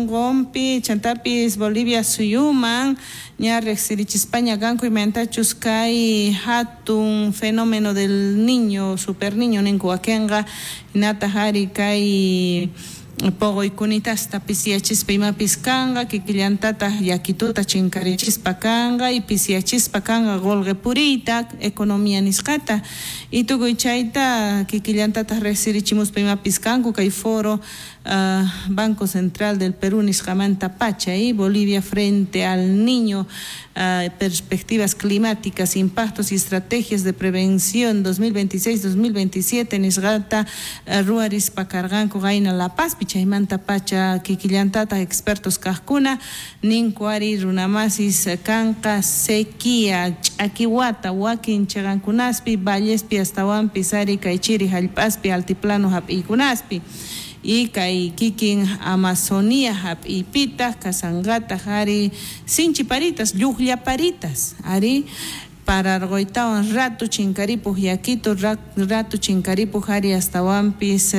Sonqonpi chantapis Bolivia suyuman ña riqsirichispaña kanku imaynatachus kay hatun fenómeno del niño, super niño ninku wakinqa, hinataq ari kay poqoykunitasta pisiyachispa imapis kanqa, kikillantataq yakituta chinkarichispa kanqa y pisiyachispa kanqa qolqe puriyta, economía nisqata, y tukuy chayta kikillantataq riqsirichimuspa imapis kanku kay foro Banco Central del Perú nisqamanta pacha, y Bolivia frente al niño, perspectivas climáticas, impactos y estrategias de prevención 2026-2027 nisqata ruwarispa karqanku qayna La Pazpi, chaymanta pacha kikillantataq expertos kaqkuna ninku ari runamasis kanqa sequía, ch'akiwata wakin chiqankunaspi, vallespi astawanpis ari kay chiri hallp'aspi, altiplano hap'iykunaspi y kay kikin Amazonía hap'iypitaq kasanqataq ari sinchi paritas, lluqlla paritas ari pararquytawan ratu chinkaripuq yakitu, ratu chinkaripuq ari astawanpis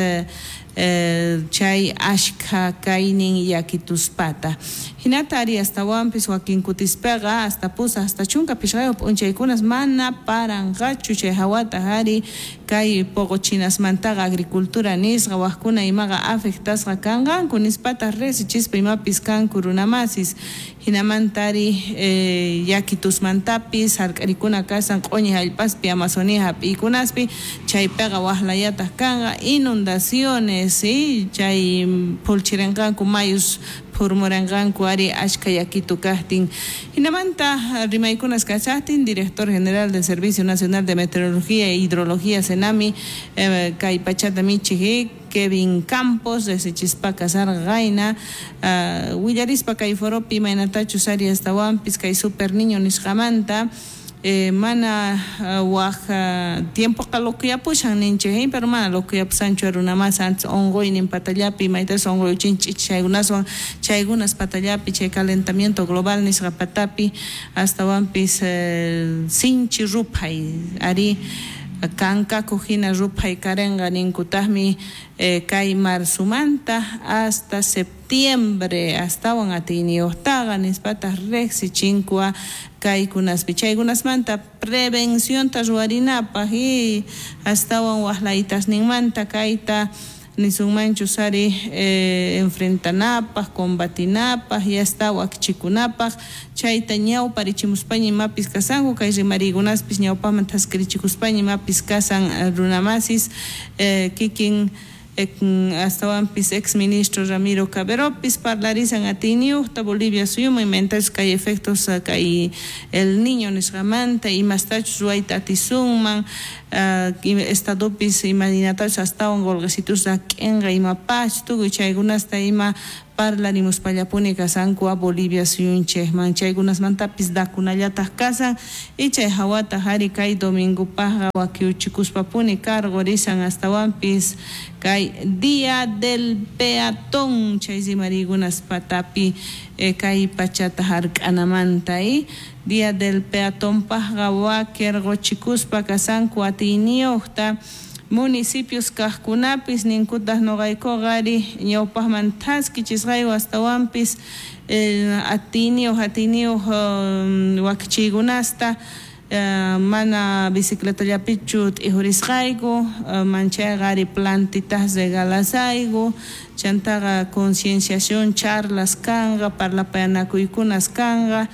chay ashkha kaynin yakituspata. Hinata ari astawanpis wakin kutispaqa hasta pusaq hasta 15 p'unchaykunas mana paranqachu chay hawataq ari kay poqochinasmantaqa agricultura nisqa waqkuna imaqa afectasqa kanqanku nispataq riqsichispa imapis kanku runamasis. Hinamanta ari yakitusmantapis hark'arikuna kasan q'uñi hallp'aspi Amazonía hap'iykunaspi chaypiqa waqlayataq kanqa inundaciones chay phulchirinqanku mayus phurmuranqanku ari ashkha yakitu kaqtin. Hinamanta rimaykunas kachaqtin director general del Servicio Nacional de Meteorología e Hidrología Senami kay pachata michiq Kevin Campos riqsichispa kasarqa qayna willarispa kay foropi imaynatachus ari astawanpis kay super niño nisqamanta mana waq tiempoqa loquyapusan ninchik, pero mana loquyapusanchu runamas antes unquynin patallapi maytas unquyuchinchik chaykunaswan chaykunas patallapi chay calentamiento global nisqa patapi astawanpis sinchi ruphay ari kankakuq hina ruphay karinqa ninkutaqmi kay marzumanta hasta septiembre astawan atiyniyuqtaqa nispataq riqsichinkua kaykunaspi chaykunasmanta prevencionta ruwarinapaq y astawan waqlaytasninmanta kayta nisunmanchus ari enfrentanapaq, combatinapaq y hasta wakichikunapaq chayta ñawparichimuspaña imapis kasanku kay rimariykunaspis ñawpaqman thaskirichikuspaña imapis kasan runamasis kikin astawanpis ex ministro Ramiro Caberopis parlarisan atiyniyuqta Bolivia suyuman imaynatachus kay efectos kay el niño nisqamanta imastachus ruwayta atisunman estadopis imaynatachus astawan qolqesitus rak'inqa imapach tukuy chaykunasta ima parlarimuspallapuni kasanku a Bolivia suyunchikman chaykunasmantapis dakunallataq kasan y chay hawataq ari kay domingopaqqa wakiuchikuspapuni karqurisan astawanpis kay Día del Peatón chay rimariykunas patapi kay pachata hark'anamanta Día del Peatonpaqqa wakirquchikuspa kasanku atiyniyuqta municipios kaqkunapis ninkutaq nuqaykuqa ari ñawpaqman thaskichisqayku astawanpis atiyniyuq wakichiykunasta mana bicicletallapichu t'ijurisqayku manchayqa ari plantitas regalasayku chantaqa concienciación charlas kanqa parlapayanakuykunas kanqa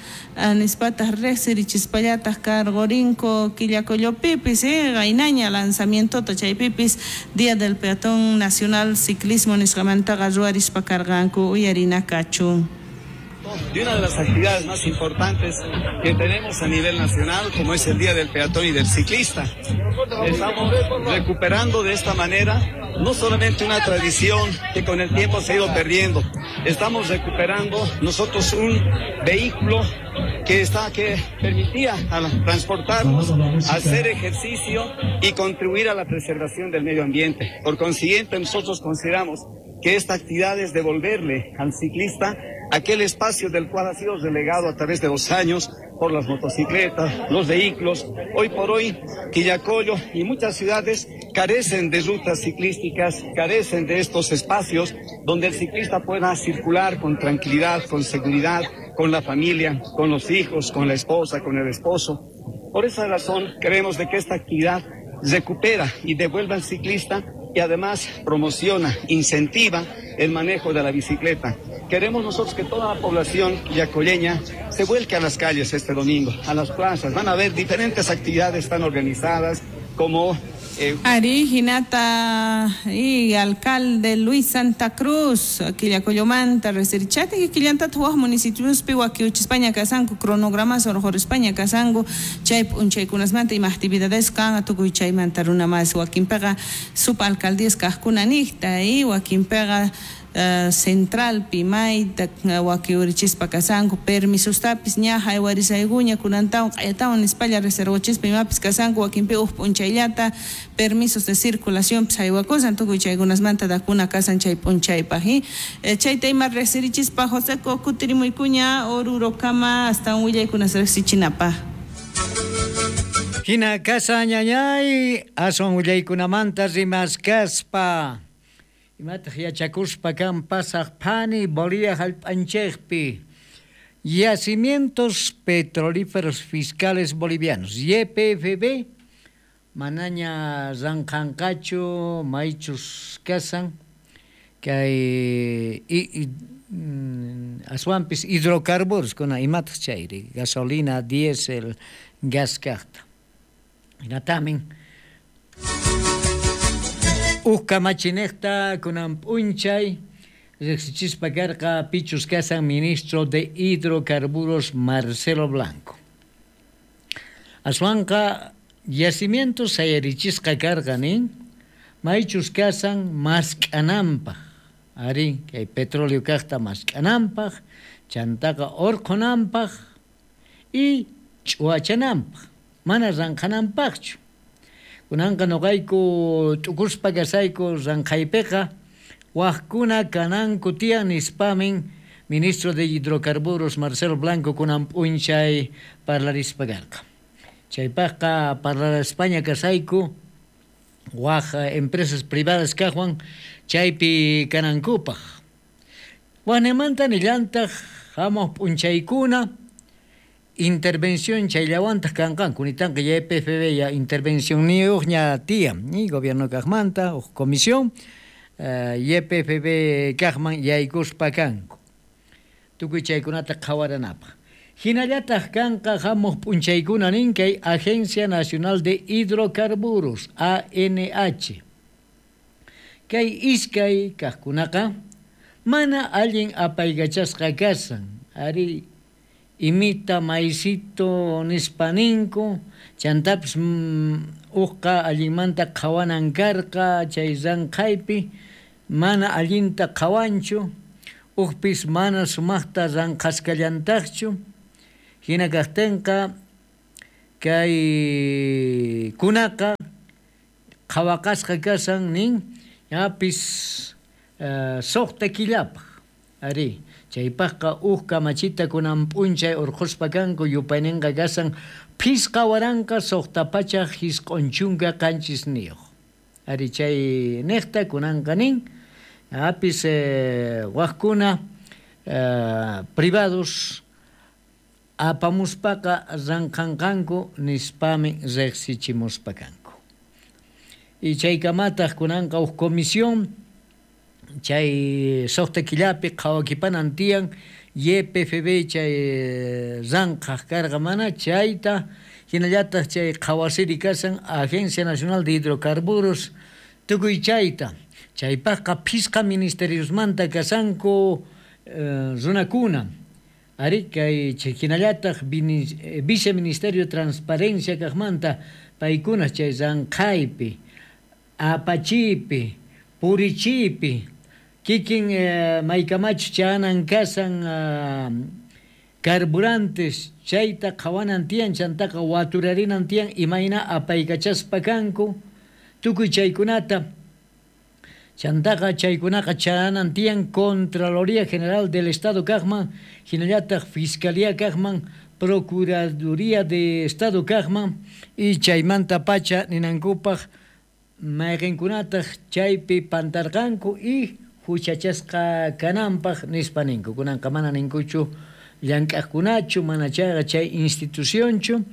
nispataq riqsirichispallataq karqurinku Quillacollopipis qaynaña lanzamientota chaypipis Día del Peatón Nacional Ciclismo nisqamantaqa ruwarispa karqanku uyarina kachun. De una de las actividades más importantes que tenemos a nivel nacional, como es el Día del Peatón y del Ciclista. Estamos recuperando de esta manera no solamente una tradición que con el tiempo se ha ido perdiendo, estamos recuperando nosotros un vehículo que permitía transportarnos, hacer ejercicio y contribuir a la preservación del medio ambiente. Por consiguiente, nosotros consideramos que esta actividad es devolverle al ciclista aquel espacio del cual ha sido relegado a través de los años por las motocicletas, los vehículos. Hoy por hoy, Quillacollo y muchas ciudades carecen de rutas ciclísticas, carecen de estos espacios donde el ciclista pueda circular con tranquilidad, con seguridad, con la familia, con los hijos, con la esposa, con el esposo. Por esa razón, creemos de que esta actividad recupera y devuelve al ciclista y además promociona, incentiva el manejo de la bicicleta. Queremos nosotros que toda la población quillacolleña se vuelque a las calles este domingo, a las plazas. Van a haber diferentes actividades están organizadas como Ari, hinata y alcalde Luis Santa Cruz, Quillacollomanta, resirichati, quillanta tuaj municipios piwakiuchispaña kasanku, cronogramas orjorispaña kasanku, chay p'unchaykunasmanta ima actividades kan tukuy chaymanta runa mas wakinpiqa subalcaldías kajkuna niqta y wakinpiqa centralpi mayta wakiurichispa kasanku permisostapis ña haywarisaykuña kunantawan q'ayatawan nispalla reservachispa imapis kasanku wakinpi uj p'unchayllata permisos de circulación pis haywakusan tukuy chaykunasmanta dakuna kasan chay p'unchaypaq chayta ima resirichispa Joseco kutirimuykuña Orurokama hasta willaykunas riqsichinapaq. Hina kasa ñañay aswan willaykunamanta rimaskaspa imataq yachakuspa kan pasaq phani Bolivia hallp'anchikpi yacimientos petrolíferos fiscales bolivianos YPFB manaña ranqanqachu maychus kasan kay aswanpis hidrocarburos kuna imataq chayri gasolina, diésel, gas kaqta hinatamin uj kamachinejta kunan p'unchay riqsichispa karqa pichus kasan ministro de hidrocarburos Marcelo Blanco. Aswanqa yacimientos sayarichisqa karqa nin maychus kasan mask'ananpaq ari kay petróleo kaqta mask'ananpaq chantaqa urqhunanpaq y ch'uwachananpaq mana ranqhananpaqchu. Kunanqa nuqayku t'ukuspa kasayku ranqhaypiqa waqkuna kananku tiyan nispamin ministro de hidrocarburos Marcelo Blanco kunan p'unchay parlarispa karqa. Chaypaqqa parlarispaña kasayku waq empresas privadas kaqwan chaypi kanankupaq. Waqnimanta nillantaq hamuq p'unchaykuna intervención chayllawantaq kanqanku nitanqa YPFB ya intervención niyuqña tiyan ni gobierno kaqmanta uj comisión YPFB kaqman yaykuspa kanku tukuy chaykunata qhawaranapaq. Hinallataq kanqa hamuq p'unchaykuna nin kay Agencia Nacional de Hidrocarburos ANH kay iskay kaqkunaqa mana allin apaykachasqa kasan ari imita maicito nispaninku chantapis uqqa allinmanta qhawanan karqa chay ranqhaypi mana allinta qhawanchu uqpis mana sumaqta ranqhasqallantaqchu hina kaqtinqa kay kunaqa qhawaqasqa kasan nin yapis suqta killapaq ari chaypaqqa uj kamachita kunan p'unchay urqhuspa kanku yupayninqa kasan 5697. Ari chay niqta kunanqa nin apis waqkuna privados apamuspaqa ranqhanqanku nispami riqsichimuspa kanku. Y chaykamataq kunanqa uj comisión chay suqta killapi qhawakipanan tiyan YPFB chay ranqhaq karqa mana chayta hinallataq chay qhawasiri kasan Agencia Nacional de Hidrocarburos tukuy chayta chaypaqqa phisqa ministeriosmanta kasanku runakuna ari kay hinallataq Viceministerio de Transparencia kaqmanta paykuna chay ranqhaypi apachipi purichipi kikin maykamachu chanan kasan carburantes chayta qhawanan tiyan chantaqa waturarinan tiyan imayna apaykachaspa kanku tukuy chaykunata chantaqa chaykunaqa chanan tiyan Contraloría General del Estado kaqman hinallataq Fiscalía kaqman Procuraduría de Estado kaqman y chaymantapacha ninankupaq mayqinkunataq chaypi pantarqanku y huchachasqa kananpaq nispa ninku. Kunanqa mana ninkuchu llank'aqkunachu mana chayqa chay institucionchu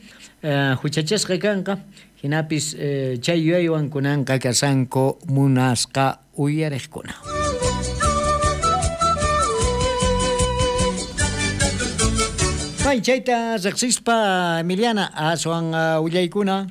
huchachasqa kanqa hinapis chay yuyaywan kunanqa kashanku munasqa uyariqkuna. May chayta riqsispa Emiliana aswan willaykuna.